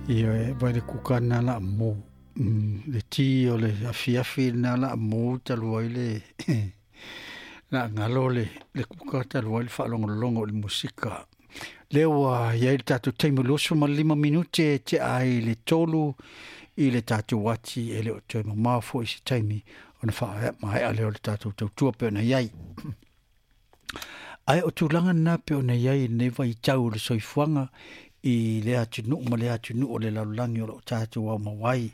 Ioe, vai le kuka lena la mu. Le ti o le afiafi lena la mu talu ai le la galo le le kuka talu ai le faalogologo o le musika. Lea ua i ai le tatou taimi 25 minute e tea ai le 3 i le tatou ati e le o toe mamao foi se taimi ona faamaea lea o le tatou tautua pei ona i ai. Ae o tulaga na pei ona i ai i lenei vaitau o le soifuaga i lea atunuu ma lea atunuu o le lalolagi o lo o tatou aumau ai.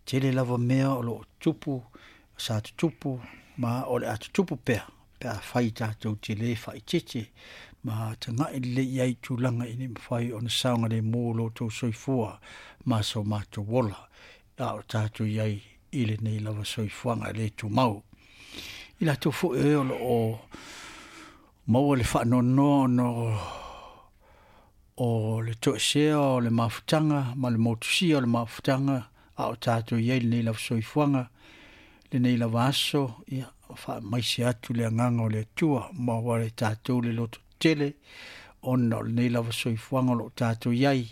Tele lava mea o lo o tupu, sa tutupu ma o le a tutupu pea pe afai tatou te le faaeteete ma tagai lelei i ai i tulaga ina ia mafai ona saogalemu lo outou soifua ma so matou ola, a o tatou i ai i lenei lava soifuaga e le tumau. I latou foi e o lo o maua le faanoanoa ona o le toesea o le mafutaga ma le motusia o le mafutaga a o tatou i ai lenei lava soifuaga, lenei lava aso, ia, faamaise atu le agaga o le Atua ma ua e tatou le loto tele ona o lenei lava soifuaga o lo o tatou i ai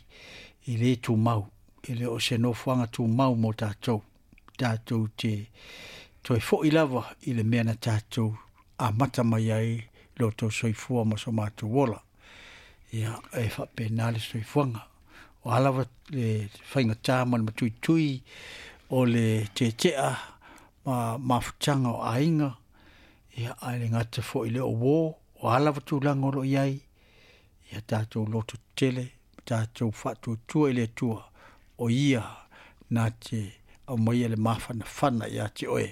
e le tumau, e le o se nofoaga tumau mo tatou. Tatou te toe foi lava i le mea na tatou amata mai ai lo outou soifua ma so matou ola. Ia, e faapena le soifuaga. O a lava le faigata ma le matuitui o le tetea ma mafutaga o aiga, ia, ae le gata foi i le uō, o a lava tulaga o lo o i ai, ia tatou loto tetele, tatou faatuatua i le Atua, o Ia na te aumaia le mafanafana ia te oe,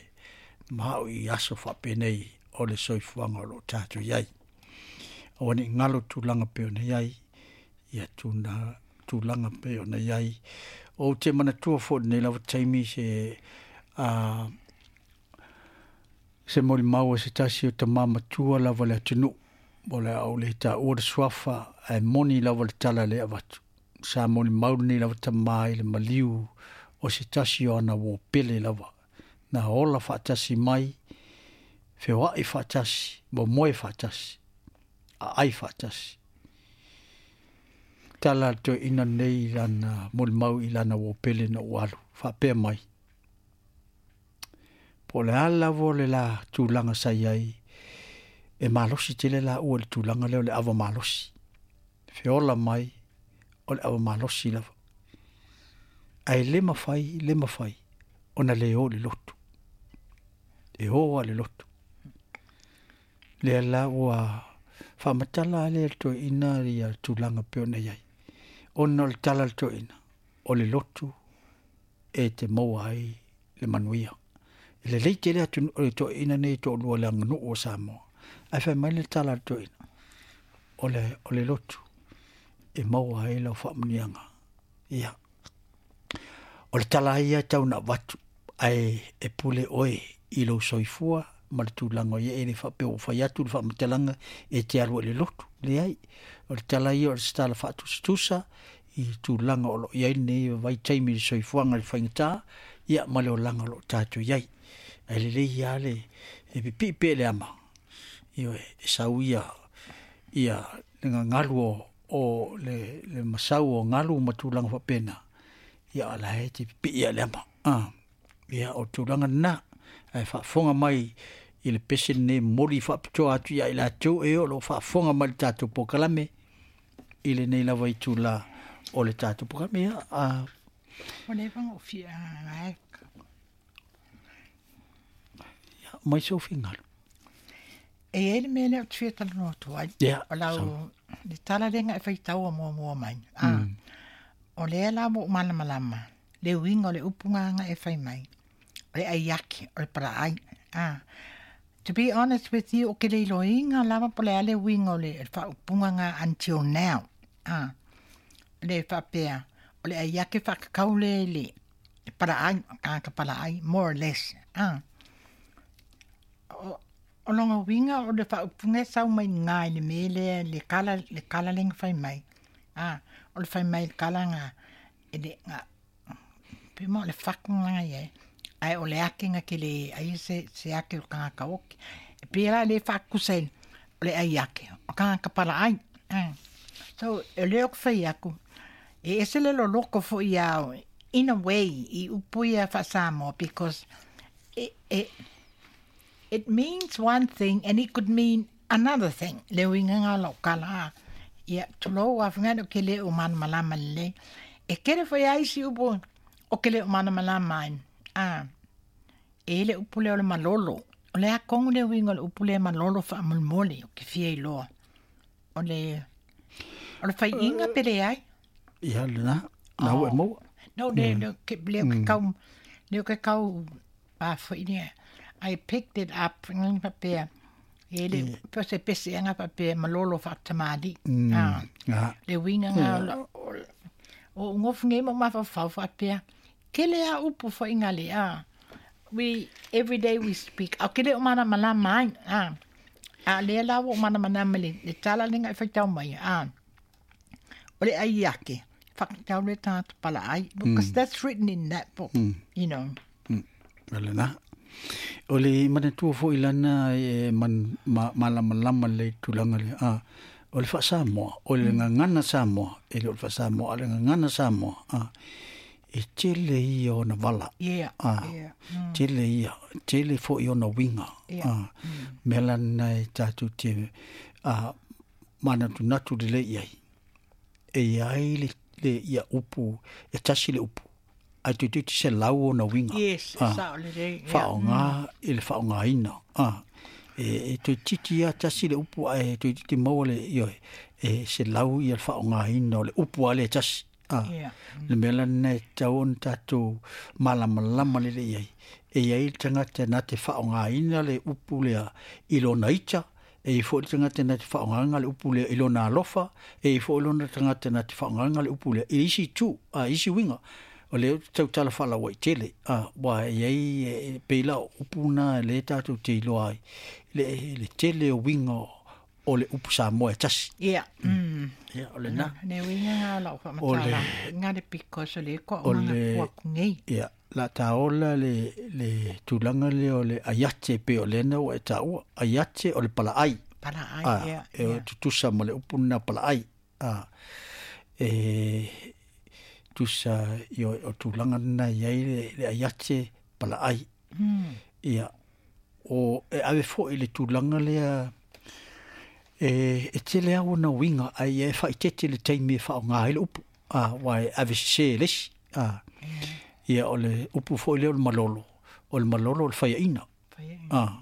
ma au i aso faapenei o le soifuaga o lo o tatou i ai. Aua ne i galo tulaga pei ona i ai, ia tuna, tulaga pei ona i ai. Ou te manatua foi lenei lava taimi se se molimau a se tasi o tama matua lava le atunuu. O le a ou le taua le suafa, ae moni lava le tala lea e avatu. Sa molimau lenei lava tama i le maliu o se tasi o ana uo pele lava. Na ola faatasi mai, feoai faatasi, momoe faatasi, aai faatasi. Tala a le toeaina lenei i lana molimau i lana uo pele ina ua alu, faapea mai, Po o le a lava le la tulaga sa i ai, e malosi tele laua i le tulaga lea o le ava malosi. Feola mai o le ava malosi lava. Ae le mafai, le mafai ona le o i le lotu. E o lava i le lotu. Lea la ua faamatala lea e le toeaina ia tulaga pei ona i ai. Ona o le tala a le toeaina, o le lotu e te maua ai le manuia. E lelei tele atu o le toeaina nei toalua i le aganuu o Samoa. Ae fai mai le tala a le toeaina, o le, o le lotu e maua ai lau faamanuiaga. Ia, o le tala ia e tau na avatu, ae e pule oe i lou soifua ma le tulaga o i ai, e le faapea ua fai atu le faamatalaga e te alu ai i le lotu. Leai, o le tala ia o le tala faatusatusa i tulaga o lo o i ai lenei vaitaimi i le soifuaga i le faigata, ia ma le olaga o lo o tatou i ai. Ae lelei lava le e pipii pea i le ama, ioe, e sau ia ia le gagalu o, o le, le masau o galu ma tulaga faapena, ia o la e te pipii lava i le ama. Ah. Ia, o tulaga lena, ae faafofoga mai i le pese lenei momoli faapitoa atu ia i latou e o lo o faafofoga mai i le tatou polokalame i lenei lava itula o le tatou polokalame. Ia, a... Ua leva ona ou fia gae. Ia, mai sou finagalo. E i ai le mea lea ou te fia talanoa atu ai. Ia, O lau, le tala lea na e faitaua muamua mai. Ah, O lea la ua ou malamalama le uiga o le upu na e fai mai. O le aiaki, o le palaai. Ah, to be honest with you, o ke le iloiga lava po le a le uiga o le faaupuga na until now. Ah, le faapea, o le aiaki faakakau lea i le palaai, tagata palaai, more or less. Ah, o lona uiga o le faaupuga e sau mai iga i le mea lea le kala le kala lea na fai mai. Ah, o le fai mai le kala na e le na pe ma o le fatu na i ai. Ae o le ake na te le ai se se ake o le tagata oki. E pei la le faatusa i o le ai ake o tagata palaai. Ah. So, o lea ou te fai atu, E ese le loloko fo'i au in a way i upu ia faa-Samoa because it, it, it means one thing and it could mean another thing. Le uiga nga lau kala a. Ia, tulou afgano ke le o mana malama lelei. E kere foi ai si upu o ke le o mana malama ai. A, e le upu lea o le malolo. O le a kongu le uiga o le upu lea malolo faamolemole o ke fia iloa. O le, o le faiiga pe leai. Ia lena, na ua e maua. No, le, le, ke, le o ke kau, le o ke kau, a foi ni, I picked it up, ngai papea, e le, mm. se pese anga papea malolo whaatamali. Ah, le winga ngā, o, o ngofu ngai mo mawhawhau whaapea, kele a upu fo inga le, ah, we, every day we speak, au kele o mana malama ai, ah, a le la o mana mana le, le tala lenga e whaitau mai, ah, o le ai ake, whakatau le tāta pala ai, because that's written in that book, you know. O lena. O le manatua foi lana e man, ma, malamalama le tulaga le a o le faasamoa, o le gagana Samoa, e le o le faasamoa, a le gagana Samoa, a e tele ia ona vala. Yeah, A, yeah. tele ia, tele foi ona uiga. Yeah. A, mea lana e tatou te a, manatunatu lelei ai. E iai le, le ia upu, e tasi le upu. Ae toeitiiti se lau ona uiga. Yes, Ah. sao le le. Yeah. Faaaoga i le faaaogaina. Ah, e, e toeitiiti lava tasi le upu ae toeitiiti maua le ioe e se lau ia le faaaogaina o le upu a le tasi. Ah, Yeah. le mea lena e tatau ona tatou malamalama lelei ai. E iai le tagata na te faaaogaina le upu lea i lona ita, e iai foi le tagata na te faaaogaina le upu lea i lona alofa, e iai foi lona tagata na te faaaogaina le upu lea i isi itu, a isi uiga. O lea ou te tautala faalauaitele, a, ua e iai e pei la o upu na lea tatou te iloa ai, le, le tele o uiga o le upu Samoa e tasi. Yeah. Mm. Ia, o lena. Ne uiga ngā lau O le- whamatala. Ngā le because o le ko O o ngā le- kua kungei. Ia, la taola le, le tulaga lea o le aiate pe o lena ua e taua, aiate o le palaai. Pala ai, A, yeah. e yeah. tutusa ma le upu lena palaai. A, e tusa i o, o tulaga lena i ai le, le aiate palaai. Mm. Ia, o e ave foi le tulaga lea e, e tele au ona uiga ai e faaitete le taimi e faaaoga ai le upu. A, ua e ave sesē e le isi. A, ia o le upu foi lea o le malolo. O le malolo o le faiaina. Whai- A,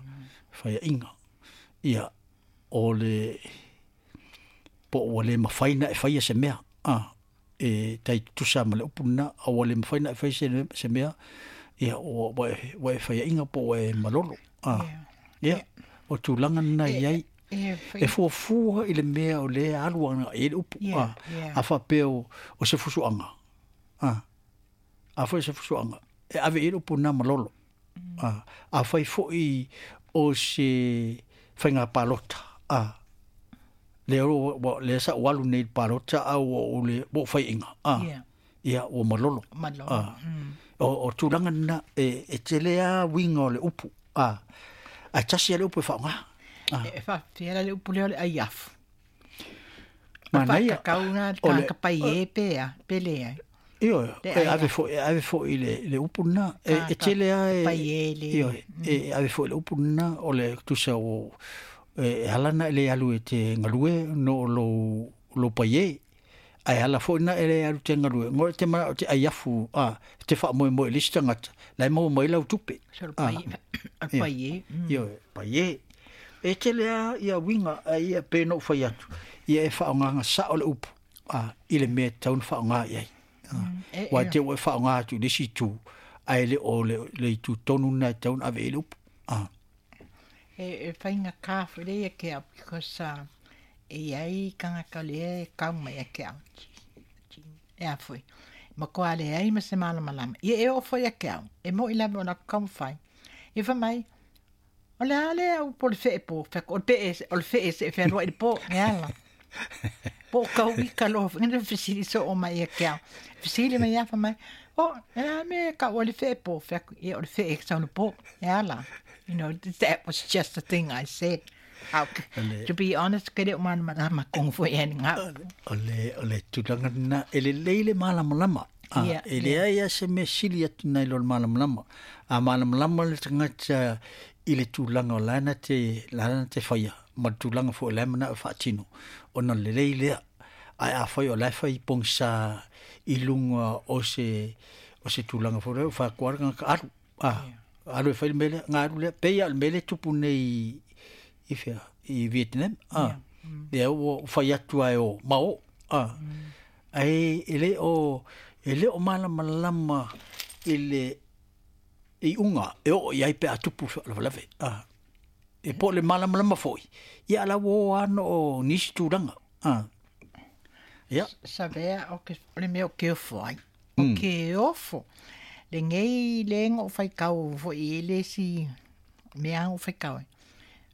faiaina. Ia, o le po ua le mafai na e faia se mea. A, e tai tutusa ma le upu lena, a ua le mafai na e faia se, se mea, ia, ua, ua, e- ua e faiaina po ua e malolo. A, Yeah. ia, o tulaga lena i ai. E, E fuafua i le mea o lea alu aga i le upu. Yeah, a, yeah. a faapea o, o se fusuaga. A, a foi se fusuaga. E ave i le upu na malolo. A, a fai foi o se faiga palota. A, le o le sa o alu nei i le palota a ua o le ua faiaina. A, Yeah. ia ua malolo. Malolo. A, o, o tulaga lena e, e tele a uiga o le upu. A, ae tasi a le upu e faaaoga. A, E whawhiara le upu lea o le aiafu. manaia. Whakakau ngā O le- kāka pai e pea, pe lea. Io, Le e aia. ave foi, e ave foi le, le upu lena. E, e Ka- tele a e... pai e le- Io, e ave foi le upu lena o le tusa o... E ala na e le alu e te ngalue no lo, lo pai e. Ai ala foi na e le alu te ngalue. Ngore te mana o te aiafu, a, te wha moe moe lisi tangata. Lai mau mai lau tupe. So le pai, o le pai e. Io, pai e. E tele a ia winga a ia pe no whai atu. Ia e whaonganga sa o le upu. A, i le mea taun whaonga i ai. E, Wa e, te ua e whaonga atu le si tū. Ai le o le, le itu tonu nai taun ave i le upu. A, e, e whainga kāwhi le ia ke au, because e iai kangaka le e kau mai a ke au. E a foi. Ma koa le ai ma se malamalama. Ia e o foi a ke au. E mo i lawe o na kau whai. E wha mai, o le ale au po le whee po, whak, o le pe e, o le whee se e whenua i le po, e ala. Po kau i ka loa, ngana fisili so o mai e ke au. Fisili mai a wha mai, o, e a me ka o le whee po, whak, e o le whee e sau le po, e ala. You know, that was just the thing I said. To be honest, ke le o malamalama kongo foi e ngā. O le tulaga lena, e lelei le malamalama. E leai lava se mea sili atu nai lo le malamalama. A malamalama le tagata i le tulaga o la na te, la na te faia, ma le tulaga foi o la e manao e faatino, ona lelei lea. Ae afai o la e fai pogisa i luga o se, o se tulaga foi lea, ua fai atu lava le tagata, alu, alu e fai le mea lea, ona alu lea. Pei lava o le mea lea e tupu nei i fea, i Vietnam, lea ua fai atu lava e o, ma o, ae e le o, e le o malamalama i le iuga e oo i ai pe a tupu le faalavelave. E po o le malamalama foi, ia a o la ua o lava ona o nisi tulaga. Ia. Savea o ke o le mea o ke ofo ai. O ke ofo. Lenei le ga ou faitau foi i le isi mea ou faitau ai.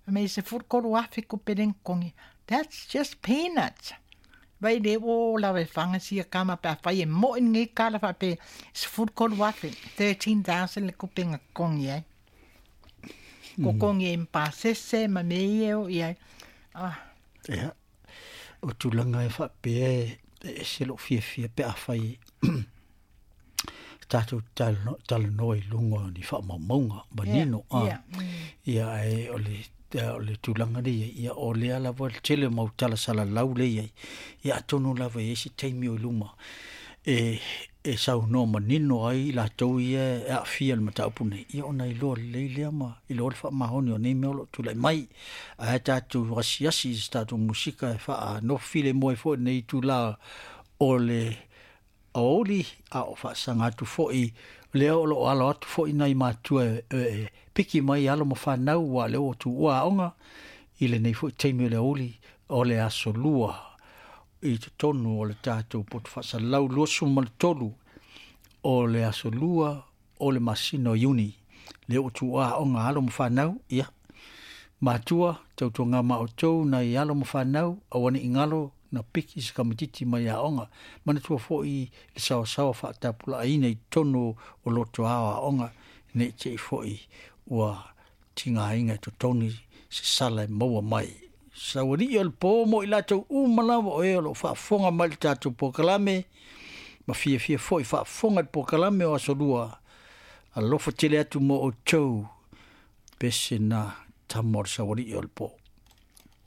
Fai mai 13,000 kupe le totogi. That's just peanuts. Vai le ua lava e faga sia kama pe afai e mo'i lenei tala faapea 13,000, 13,000 le kupe na totogi ai. Totogi ai ma pasese ma mea ia e oo i ai. Ah. Ia, o tulaga e faapea e ese lou fiafia pe afai tatou talanoa i luga o ni faamaumauga manino. Ia, ae o le o le tulaga lea i ai, ia o lea lava le tele o mau tala salalau lea i ai, ia atonu lava e i ai se taimi o i luma e e saunoa manino ai i latou ia e aafia i le mataupu nei, ia ona iloa lelei lea ma iloa le faamaoni o nei mea o lo o tulai mai. Ae tatou asiasi i se tatou musika e faanofo filemu ai foi i lenei itula o le aoauli, a o faasaga atu foi lea o lo o alo atu foi nai matua e piki mai alo ma fanau, aua o lea ua tuua aoga i lenei foi taimi o le aoauli o le aso Lua i totonu o le tatou poto faasalalau 23 o le aso Lua o le masina o Iuni. Lea ua tuua aoga alo ma fanau, ia matua, tautuaga ma outou nai alo ma fanau, aua ne i galo na piki se kamatiti mai aoga. Manatua foi le saoasaoa faatapulaaina i totonu o loto ao aoga, ne i te i foi ua tigaina e totogi se sala e maua mai. Saualii o le po mo i latou uma lava o e o lo o faafofoga mai i le tatou polokalame, ma fiafia foi faafofoga i le polokalame o Aso Lua. Alofa tele atu mo outou, pese na tama o le saualii o le po.